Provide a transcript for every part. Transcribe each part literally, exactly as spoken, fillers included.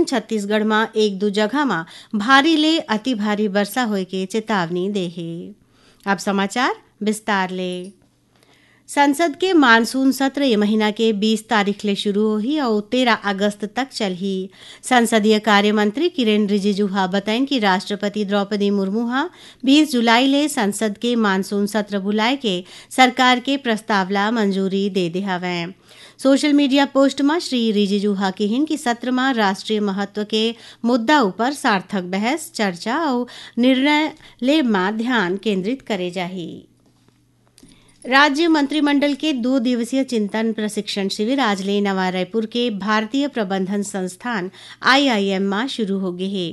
छत्तीसगढ़ म एक दू जगह म भारी ले अति भारी वर्षा होए के चेतावनी दे हे। अब समाचार विस्तार ले। संसद के मानसून सत्र ये महीना के बीस तारीख ले शुरू होही अउ तेरह अगस्त तक चलही। संसदीय कार्य मंत्री किरेन रिजिजू ह बतइन कि राष्ट्रपति द्रौपदी मुर्मू ह बीस जुलाई ले संसद के मानसून सत्र बुलाए के सरकार के प्रस्ताव ला मंजूरी दे दे हवय। सोशल मीडिया पोस्ट म श्री रिजिजू ह किहिन कि सत्र म राष्ट्रीय महत्व के मुद्दा ऊपर सार्थक बहस, चर्चा अउ निर्णय ले म ध्यान केंद्रित करे जाही। राज्य मंत्रिमंडल के दो दिवसीय चिंतन प्रशिक्षण शिविर आज ले नवा रायपुर के भारतीय प्रबंधन संस्थान, आईआईएम, म शुरू हो गे हे।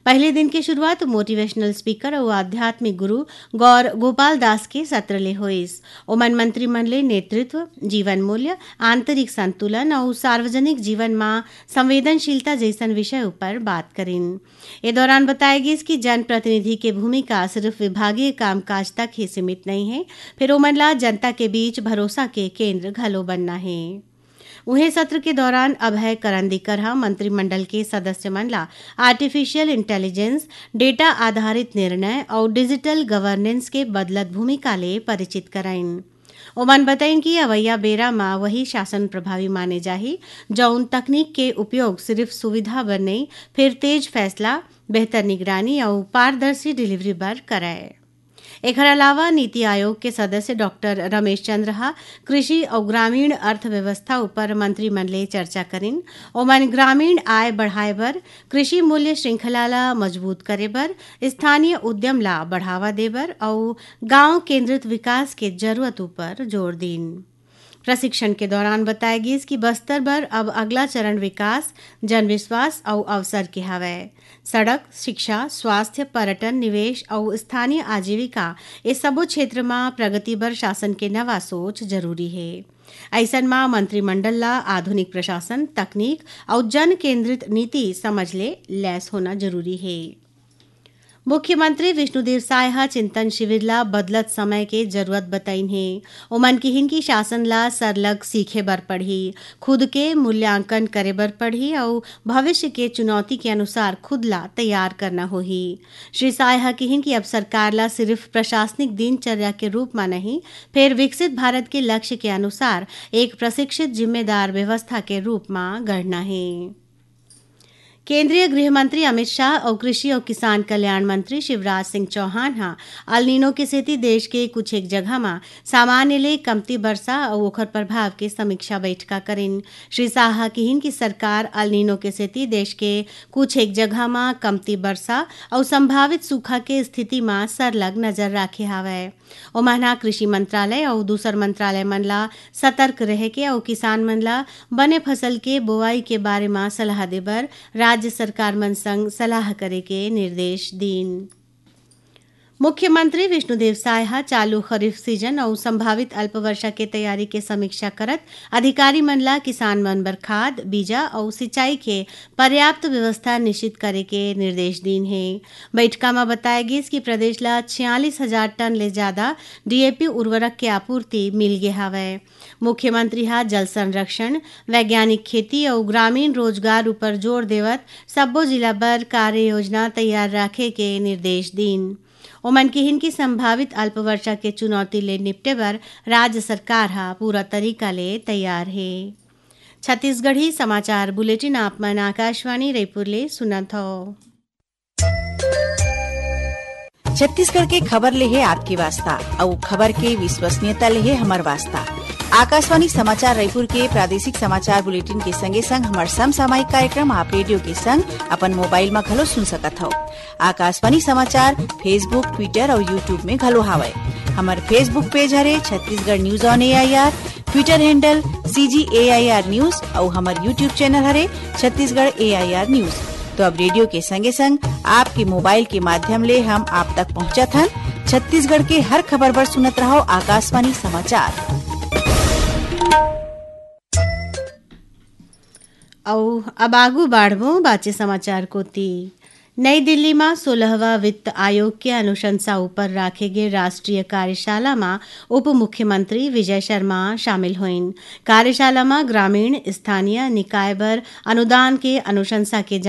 पहले दिन के शुरुआत मोटिवेशनल स्पीकर अउ आध्यात्मिक गुरु गौर गोपाल दास के सत्र ले होइस। ओमन मंत्री मन ले नेतृत्व, जीवन मूल्य, आंतरिक संतुलन अउ सार्वजनिक जीवन म संवेदनशीलता जइसन विषय ऊपर बात करिन। ए दौरान बताय गिस कि जनप्रतिनिधि के भूमिका सिर्फ विभागीय कामकाज तक ही सीमित नइ हे, फेर ओमन ला जनता के बीच भरोसा के केंद्र घलो बनना हे। उहें, सत्र के दौरान अभय करंदीकर ह मंत्रिमंडल के सदस्य मन ला आर्टिफिशियल इंटेलिजेंस, डेटा आधारित निर्णय अउ डिजिटल गवर्नेंस के बदलत भूमिका ले परिचित कराइन। ओमन बतइन कि अवइया बेरा म वही शासन प्रभावी माने जाही, जउन तकनीक के उपयोग सिर्फ सुविधा बर नइ, फेर तेज फैसला, बेहतर निगरानी अउ पारदर्शी डिलीवरी बर करय। एखर अलावा नीति आयोग के सदस्य डॉक्टर रमेश चंद्र ह कृषि अउ ग्रामीण अर्थव्यवस्था ऊपर मंत्री मन ले चर्चा करिन। ओमन ग्रामीण आय बढ़ाए बर, कृषि मूल्य श्रृंखला ला मजबूत करे बर, स्थानीय उद्यम ला बढ़ावा दे बर अउ गांव केंद्रित विकास के जरूरत ऊपर जोर दीन। प्रशिक्षण के दौरान बताय गिस कि बस्तर बर अब अगला चरण विकास, जनविश्वास अउ अवसर के हवय। सड़क, शिक्षा, स्वास्थ्य, पर्यटन, निवेश अउ स्थानीय आजीविका, ए सबो क्षेत्र म प्रगति बर शासन के नवा सोच जरूरी हे। अइसन म मंत्रिमंडल ला आधुनिक प्रशासन, तकनीक अउ जन केंद्रित नीति समझ ले लैस होना जरूरी हे। मुख्यमंत्री विष्णुदेव साय ह चिंतन शिविर ला बदलत समय के जरूरत बतइन हे। ओमन किहिन कि शासन ला सरलग सीखे बर पड़ही, खुद के मूल्यांकन करे बर पड़ही अउ भविष्य के चुनौती के अनुसार खुद ला तैयार करना होही। श्री साय ह किहिन कि अब सरकार ला सिर्फ प्रशासनिक दिनचर्या के रूप म नहीं, फेर विकसित भारत के लक्ष्य के अनुसार एक प्रशिक्षित जिम्मेदार व्यवस्था के रूप म गढ़ना हे। केंद्रीय गृह मंत्री अमित शाह अउ कृषि अउ किसान कल्याण मंत्री शिवराज सिंह चौहान ह अल नीनो के सेती देश के कुछ एक जगह म सामान्य ले कमती बरसा अउ ओखर प्रभाव के समीक्षा बैठका करिन। श्री शाह ह किहिन कि सरकार अल नीनो के सेती देश के कुछ एक जगह म कमती बरसा अउ संभावित सूखा के स्थिति म सरलग नजर राखे हावय। ओमन ह कृषि मंत्रालय अउ दूसर मंत्रालय मन ला सतर्क रहे के अउ किसान मन ला बने फसल के बोवाई के बारे म सलाह दे बर राज्य सरकार मन संग सलाह करे के निर्देश दीन। मुख्यमंत्री विष्णुदेव साय ह चालू खरीफ सीजन अउ संभावित अल्प वर्षा के तैयारी के समीक्षा करत अधिकारी मन ला किसान मन बर खाद, बीजा अउ सिंचाई के पर्याप्त व्यवस्था निश्चित करे के निर्देश दीन हे। बैठका म बताय गिस कि प्रदेश ला छियालीस हजार टन ले जादा डीएपी उर्वरक के आपूर्ति मिल गे हावय। मुख्यमंत्री ह जल संरक्षण, वैज्ञानिक खेती अउ ग्रामीण रोजगार उपर जोर देवत सब्बो जिला बर कार्य योजना तैयार राखे के निर्देश दीन। ओमन किहिन कि संभावित अल्प वर्षा के चुनौती ले निपटे बर राज्य सरकार ह पूरा तरीका ले तैयार हे। छत्तीसगढ़ी समाचार बुलेटिन आप मन आकाशवाणी रायपुर ले सुनत हव। छत्तीसगढ़ के खबर ले हे आपके वास्ता, अउ खबर के विश्वसनीयता ले हे हमर वास्ता। आकाशवाणी समाचार रायपुर के प्रादेशिक समाचार बुलेटिन के संगे संग हमर समसामयिक कार्यक्रम आप रेडियो के संग अपन मोबाइल म घलो सुन सकत हव। आकाशवाणी समाचार Facebook, Twitter अउ YouTube में घलो हावय। हमर Facebook पेज हरे Chhattisgarh news on AIR, Twitter handle CG AIR news अउ हमर YouTube चैनल हरे छत्तीसगढ़ एआईआर न्यूज। तो अब रेडियो के संगे संग आपके मोबाइल के माध्यम ले हम आप तक पहुंचत हन। छत्तीसगढ़ के हर खबर बर सुनत रहव आकाशवाणी समाचार। अउ अब आगू बाढ़बो बाचे समाचार कोती। नई दिल्ली म सोलहवाँ वित्त आयोग के अनुशंसा ऊपर राखे गे राष्ट्रीय कार्यशाला म उप मुख्यमंत्री विजय शर्मा शामिल होइन। कार्यशाला म ग्रामीण स्थानीय निकाय बर अनुदान के अनुशंसा के